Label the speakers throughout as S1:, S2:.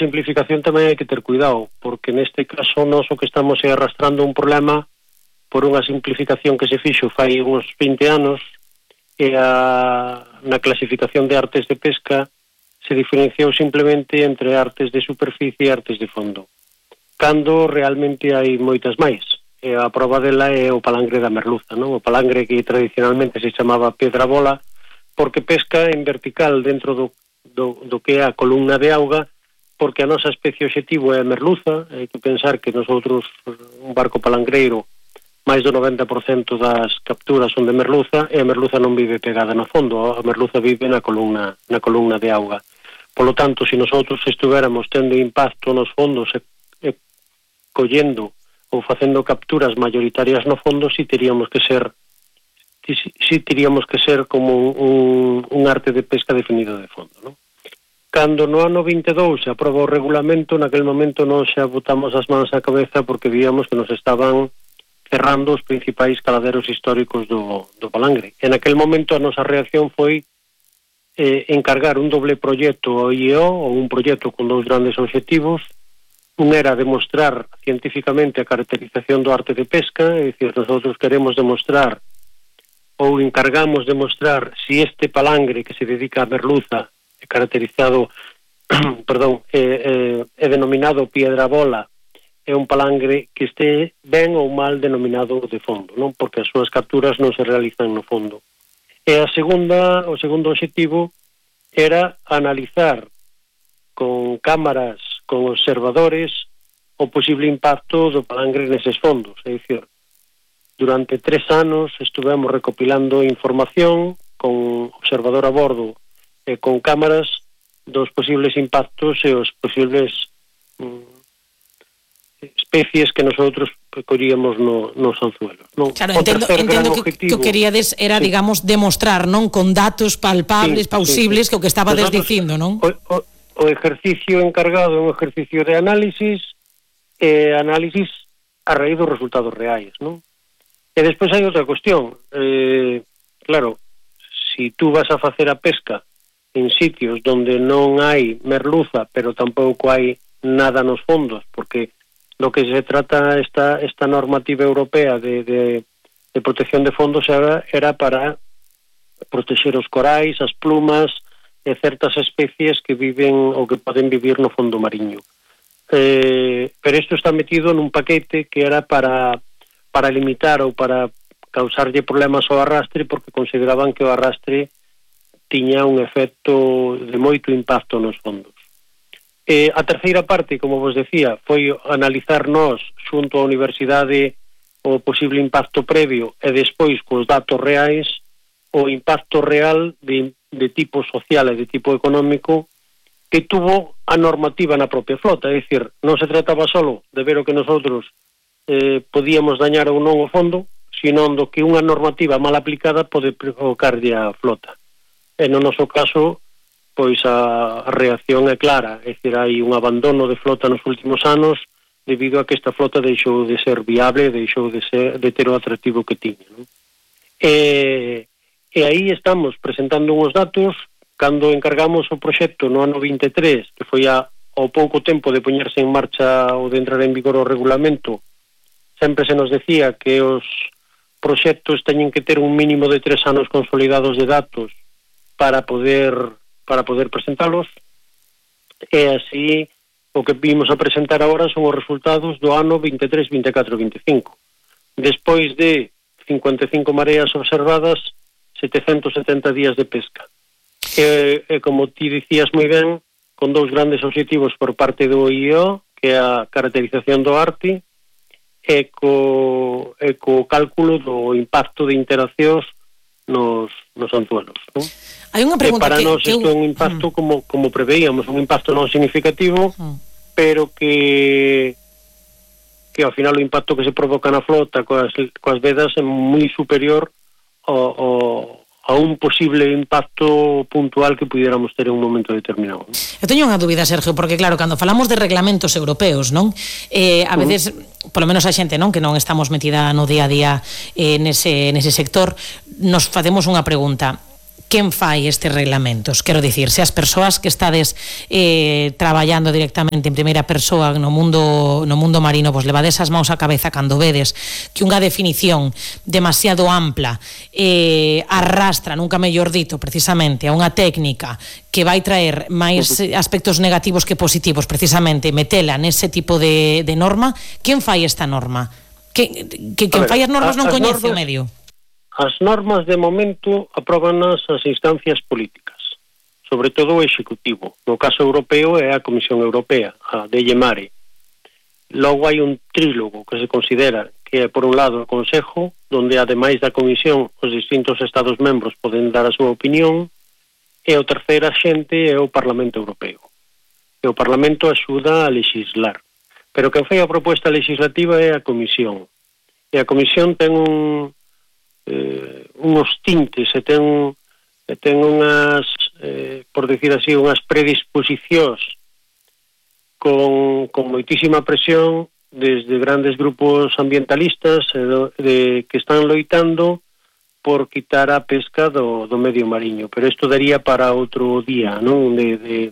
S1: simplificación tamén hai que ter cuidado, porque neste caso nós o que estamos é arrastrando un problema por unha simplificación que se fixo fai uns 20 anos, e na clasificación de artes de pesca se diferenciou simplemente entre artes de superficie e artes de fondo, cando realmente hai moitas máis. E a prova dela é o palangre da merluza, non? O palangre que tradicionalmente se chamaba pedra bola, porque pesca en vertical dentro do que é a columna de auga, porque a nosa especie objetivo é a merluza. Hai que pensar que nosotros, un barco palangreiro, máis do 90% das capturas son de merluza, e a merluza non vive pegada no fondo, a merluza vive na columna de auga. Polo tanto, se nosotros estuveramos tendo impacto nos fondos e collendo ou facendo capturas mayoritarias no fondo, si teríamos que ser como un arte de pesca definido de fondo, non? Cando no ano 22 se aproba o regulamento, naquel momento non xa botamos as mans á cabeza porque víamos que nos estaban cerrando os principais caladeros históricos do palangre. En aquel momento a nosa reacción foi encargar un doble proxecto ao IEO, ou un proxecto con dous grandes obxectivos. Un era demostrar científicamente a caracterización do arte de pesca, é dicir, nosotros queremos demostrar ou encargamos demostrar si este palangre que se dedica a merluza é caracterizado é denominado piedra bola, é un palangre que este ben ou mal denominado de fondo, non? Porque as súas capturas non se realizan no fondo. E o segundo obxectivo era analizar con cámaras, con observadores, o posible impacto do palangre neses fondos. É dicir, durante 3 anos estuvemos recopilando información con observador a bordo e con cámaras dos posibles impactos e os posibles especies que nosotros collíamos nos anzuelos, non?
S2: Claro, entendo que o queríades era, sí, digamos, demostrar, non, con datos palpables, sí, plausibles, sí, que o que estabades dicindo, non?
S1: O exercicio encargado é un exercicio de análisis a raíz dos resultados reais, non? E despois hai outra cuestión. Claro, si tú vas a facer a pesca en sitios donde non hai merluza, pero tampouco hai nada nos fondos, porque lo que se trata esta normativa europea de protección de fondos era para proteger os corais, as plumas e certas especies que viven ou que poden vivir no fondo mariño. Pero isto está metido nun paquete que era para limitar ou para causarlle problemas ao arrastre, porque consideraban que o arrastre tiña un efecto de moito impacto nos fondos. A terceira parte, como vos decía, foi analizar nós xunto á universidade o posible impacto previo e despois cos datos reais o impacto real de tipo social e de tipo económico que tuvo a normativa na propia flota. É dicir, non se trataba solo de ver o que nosotros podíamos dañar ou non o fondo, sino do que unha normativa mal aplicada pode provocarlle a flota. E no noso caso, pois a reacción é clara, é dicir, hai un abandono de flota nos últimos anos debido a que esta flota deixou de ser viable, deixou de ter o atractivo que tiña, non? E aí estamos presentando uns datos. Cando encargamos o proxecto no ano 23, que foi ao pouco tempo de poñerse en marcha ou de entrar en vigor o regulamento, sempre se nos decía que os proxectos teñen que ter un mínimo de 3 anos consolidados de datos para poder presentalos, e así o que vimos a presentar agora son os resultados do ano 23, 24, 25. Despois de 55 mareas observadas, 770 días de pesca. E como ti dicías moi ben, con dous grandes obxectivos por parte do IEO, que é a caracterización do arte, e co cálculo do impacto de interaccións nos anzuelos, non?
S2: Hai unha pregunta
S1: para nós isto é un impacto como preveíamos, un impacto non significativo, pero que ao final o impacto que se provoca na flota coas vedas é moi superior a un posible impacto puntual que pudiéramos ter en un momento determinado.
S2: Eu teño unha dúbida, Sergio, porque claro, cando falamos de reglamentos europeos, non? A veces, polo menos a xente, non, que non estamos metida no día a día nese sector, nos facemos unha pregunta. quen fai estes reglamentos? Quero dicir, se as persoas que estades traballando directamente en primeira persoa no mundo marino, vos levades as mãos á cabeza cando vedes que unha definición demasiado ampla arrastra, nunca mellor dito, precisamente a unha técnica que vai traer máis aspectos negativos que positivos, precisamente metela nese tipo de norma, quen fai esta norma? Quen fai as normas non coñece o medio?
S1: As normas de momento apróbanas as instancias políticas, sobre todo o Executivo. No caso europeo é a Comisión Europea, a DG Mare. Logo hai un trílogo que se considera que é, por un lado, o Consejo, donde, ademais da Comisión, os distintos Estados membros poden dar a súa opinión, e o terceiro axente é o Parlamento Europeo. E o Parlamento axuda a legislar. Pero quen fai a proposta legislativa é a Comisión. E a Comisión ten unos tintes e ten unhas, por decir así, unhas predisposicións con moitísima presión desde grandes grupos ambientalistas que están loitando por quitar a pesca do medio mariño, pero isto daría para outro día, non, de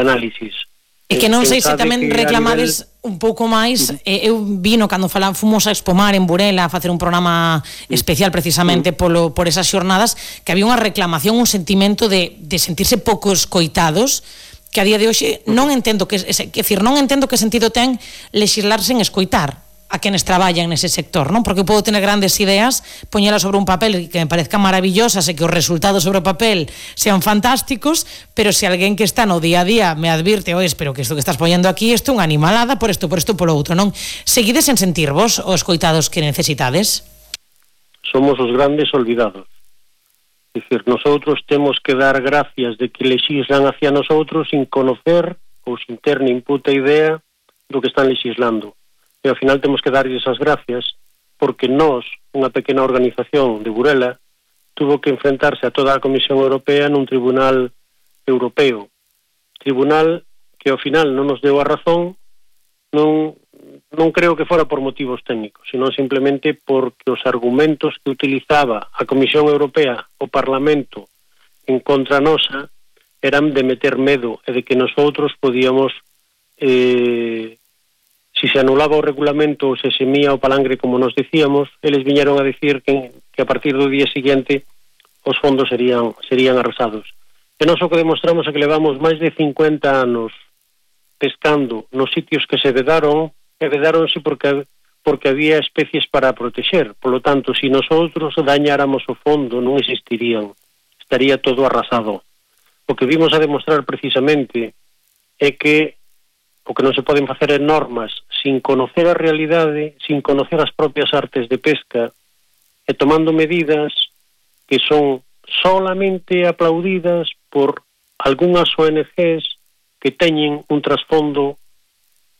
S1: análisis.
S2: E que non sei se tamén reclamades un pouco máis, eu vino cando fomos a Expomar en Burela a facer un programa especial precisamente por esas xornadas, que había unha reclamación, un sentimento de sentirse pouco escoitados, que a día de hoxe non entendo que sentido ten legislar sen escoitar a quenes traballan nese sector, non? Porque eu podo tener grandes ideas, poñelas sobre un papel que me parezcan maravillosas e que os resultados sobre o papel sean fantásticos, pero se alguén que está no día a día me advirte, pero que isto que estás poñendo aquí, isto é unha animalada por isto, polo outro, non? Seguides en sentirvos os coitados que necesitades?
S1: Somos os grandes olvidados. É dicir, nosotros temos que dar gracias de que lexislan hacia nosotros sin conocer ou sin ter nin puta idea do que están legislando. E ao final temos que darlles as gracias porque nós, unha pequena organización de Burela, tuvo que enfrentarse a toda a Comisión Europea nun tribunal europeo. Tribunal que ao final non nos deu a razón, non creo que fora por motivos técnicos, senón simplemente porque os argumentos que utilizaba a Comisión Europea, o Parlamento, en contra nosa, eran de meter medo e de que nosotros podíamos... si se anulaba o regulamento ou se semía o palangre como nos decíamos, eles viñeron a decir que a partir do día siguiente os fondos serían arrasados. E nós o que demostramos é que levamos máis de 50 anos pescando nos sitios que se vedaron, e vedáronse porque había especies para protexer. Por lo tanto, si nosotros dañáramos o fondo, non existirían. Estaría todo arrasado. O que vimos a demostrar precisamente é que o que non se poden facer en normas sin conocer a realidade, sin conocer as propias artes de pesca e tomando medidas que son solamente aplaudidas por algunhas ONGs que teñen un trasfondo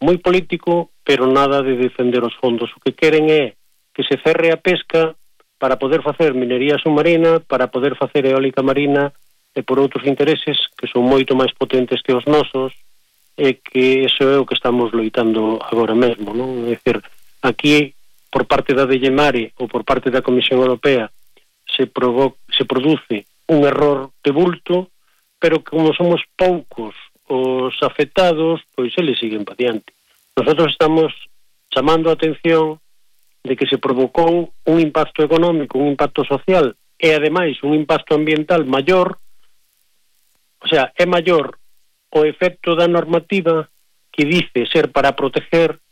S1: moi político, pero nada de defender os fondos. O que queren é que se cerre a pesca para poder facer minería submarina, para poder facer eólica marina e por outros intereses que son moito máis potentes que os nosos, e que iso é o que estamos loitando agora mesmo, non? É dicir, aquí, por parte da DG Mare ou por parte da Comisión Europea se produce un error de bulto, pero como somos poucos os afectados, pois eles siguen pa diante. Nosotros estamos chamando a atención de que se provocou un impacto económico, un impacto social e, ademais, un impacto ambiental maior, o sea, é maior o efecto da normativa que dice ser para proteger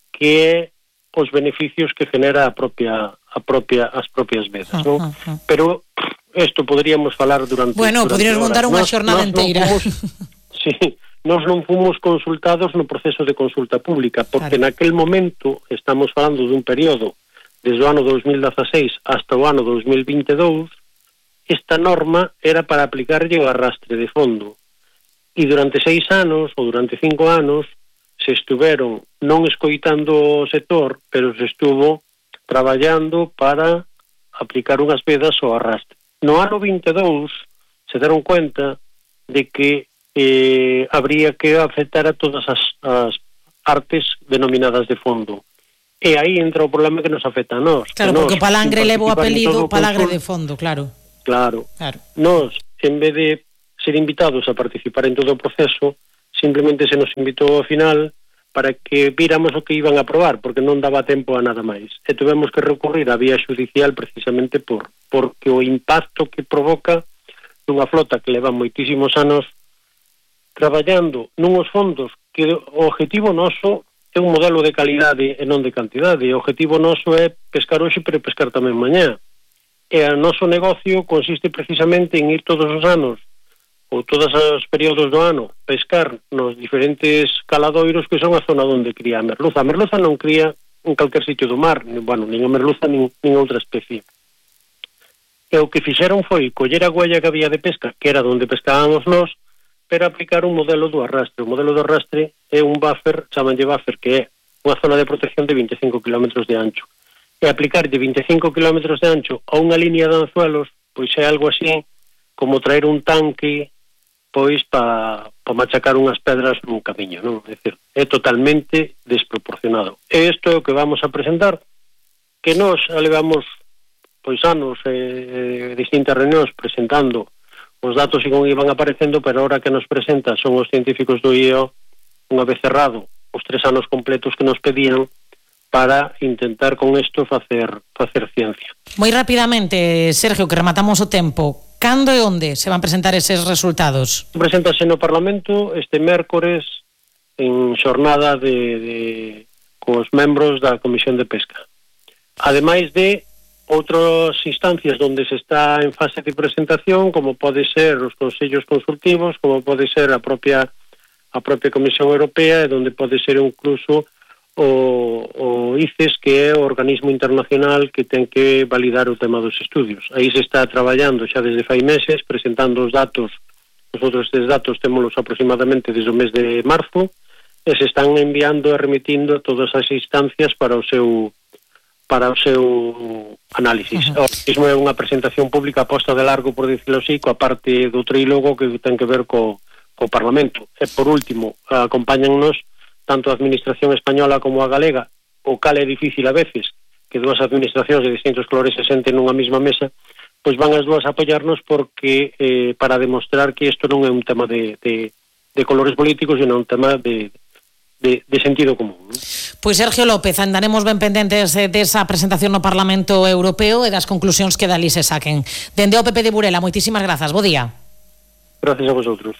S1: que é os beneficios que genera as propias vedas, non? Pero isto poderíamos falar durante
S2: poderíamos montar unha xornada inteira.
S1: Nós non fomos consultados no proceso de consulta pública, porque naquel momento estamos falando dun período desde o ano 2016 hasta o ano 2022, esta norma era para aplicarlle o arrastre de fondo. E durante 6 anos, ou durante 5 anos, se estuveron non escoitando o sector, pero se estuvo traballando para aplicar unhas vedas ao arrastre. No ano 22 se deron cuenta de que habría que afectar a todas as artes denominadas de fondo. E aí entra o problema que nos afecta a nós.
S2: Claro, porque o palangre leva o apelido palangre de fondo, claro.
S1: Claro. Nos, en vez de ser invitados a participar en todo o proceso, simplemente se nos invitou ao final para que víramos o que iban a aprobar, porque non daba tempo a nada máis. E tuvemos que recurrir á vía judicial precisamente porque o impacto que provoca nunha flota que leva moitísimos anos traballando nuns fondos que o objetivo noso é un modelo de calidade e non de cantidade. O objetivo noso é pescar hoxe, pero pescar tamén mañá. E o noso negocio consiste precisamente en ir todos os anos ou todos os períodos do ano pescar nos diferentes caladoiros que son a zona onde cría a merluza. A merluza non cría en calquer sitio do mar, nin a merluza nin outra especie. E o que fixeron foi coller a huella que había de pesca, que era onde pescábamos nós, pero aplicar un modelo do arrastre. O modelo do arrastre é un buffer, chamanlle buffer, que é unha zona de protección de 25 km de ancho. E aplicar de 25 km de ancho a unha línea de anzuelos, pois é algo así como traer un tanque pois para machacar unhas pedras nun camiño, non? É dicir, é totalmente desproporcionado. E isto é o que vamos a presentar, que nós levamos pois anos distintas reunións presentando os datos e como iban aparecendo, pero ahora que nos presenta son os científicos do IEO, unha vez cerrado os 3 anos completos que nos pedían para intentar con isto facer ciencia.
S2: Moi rapidamente, Sergio, que rematamos o tempo, cando e onde se van presentar eses resultados?
S1: Preséntase no Parlamento este mércores en xornada cos membros da Comisión de Pesca. Ademais de outras instancias onde se está en fase de presentación, como pode ser os consellos consultivos, como pode ser a propia Comisión Europea, e onde pode ser incluso o ICES, que é o organismo internacional que ten que validar o tema dos estudios. Aí se está traballando xa desde fai meses, presentando os datos. Nosotros estes datos témolos aproximadamente desde o mes de marzo, e se están enviando e remitindo todas as instancias para o seu análisis. Mesmo é unha presentación pública posta de largo, por dicirlo así, coa parte do trílogo que ten que ver co Parlamento. E por último, acompáñannos tanto a administración española como a galega, o cal é difícil a veces que dúas administracións de distintos colores se senten nunha mesma mesa, pois van as dúas a apoiarnos porque para demostrar que isto non é un tema de colores políticos, sino un tema de sentido común, ¿no?
S2: Pois Sergio López, andaremos ben pendentes desa presentación no Parlamento Europeo e das conclusións que dali se saquen. Dende o PP de Burela, moitísimas grazas, bo día.
S1: Gracias a vosotros.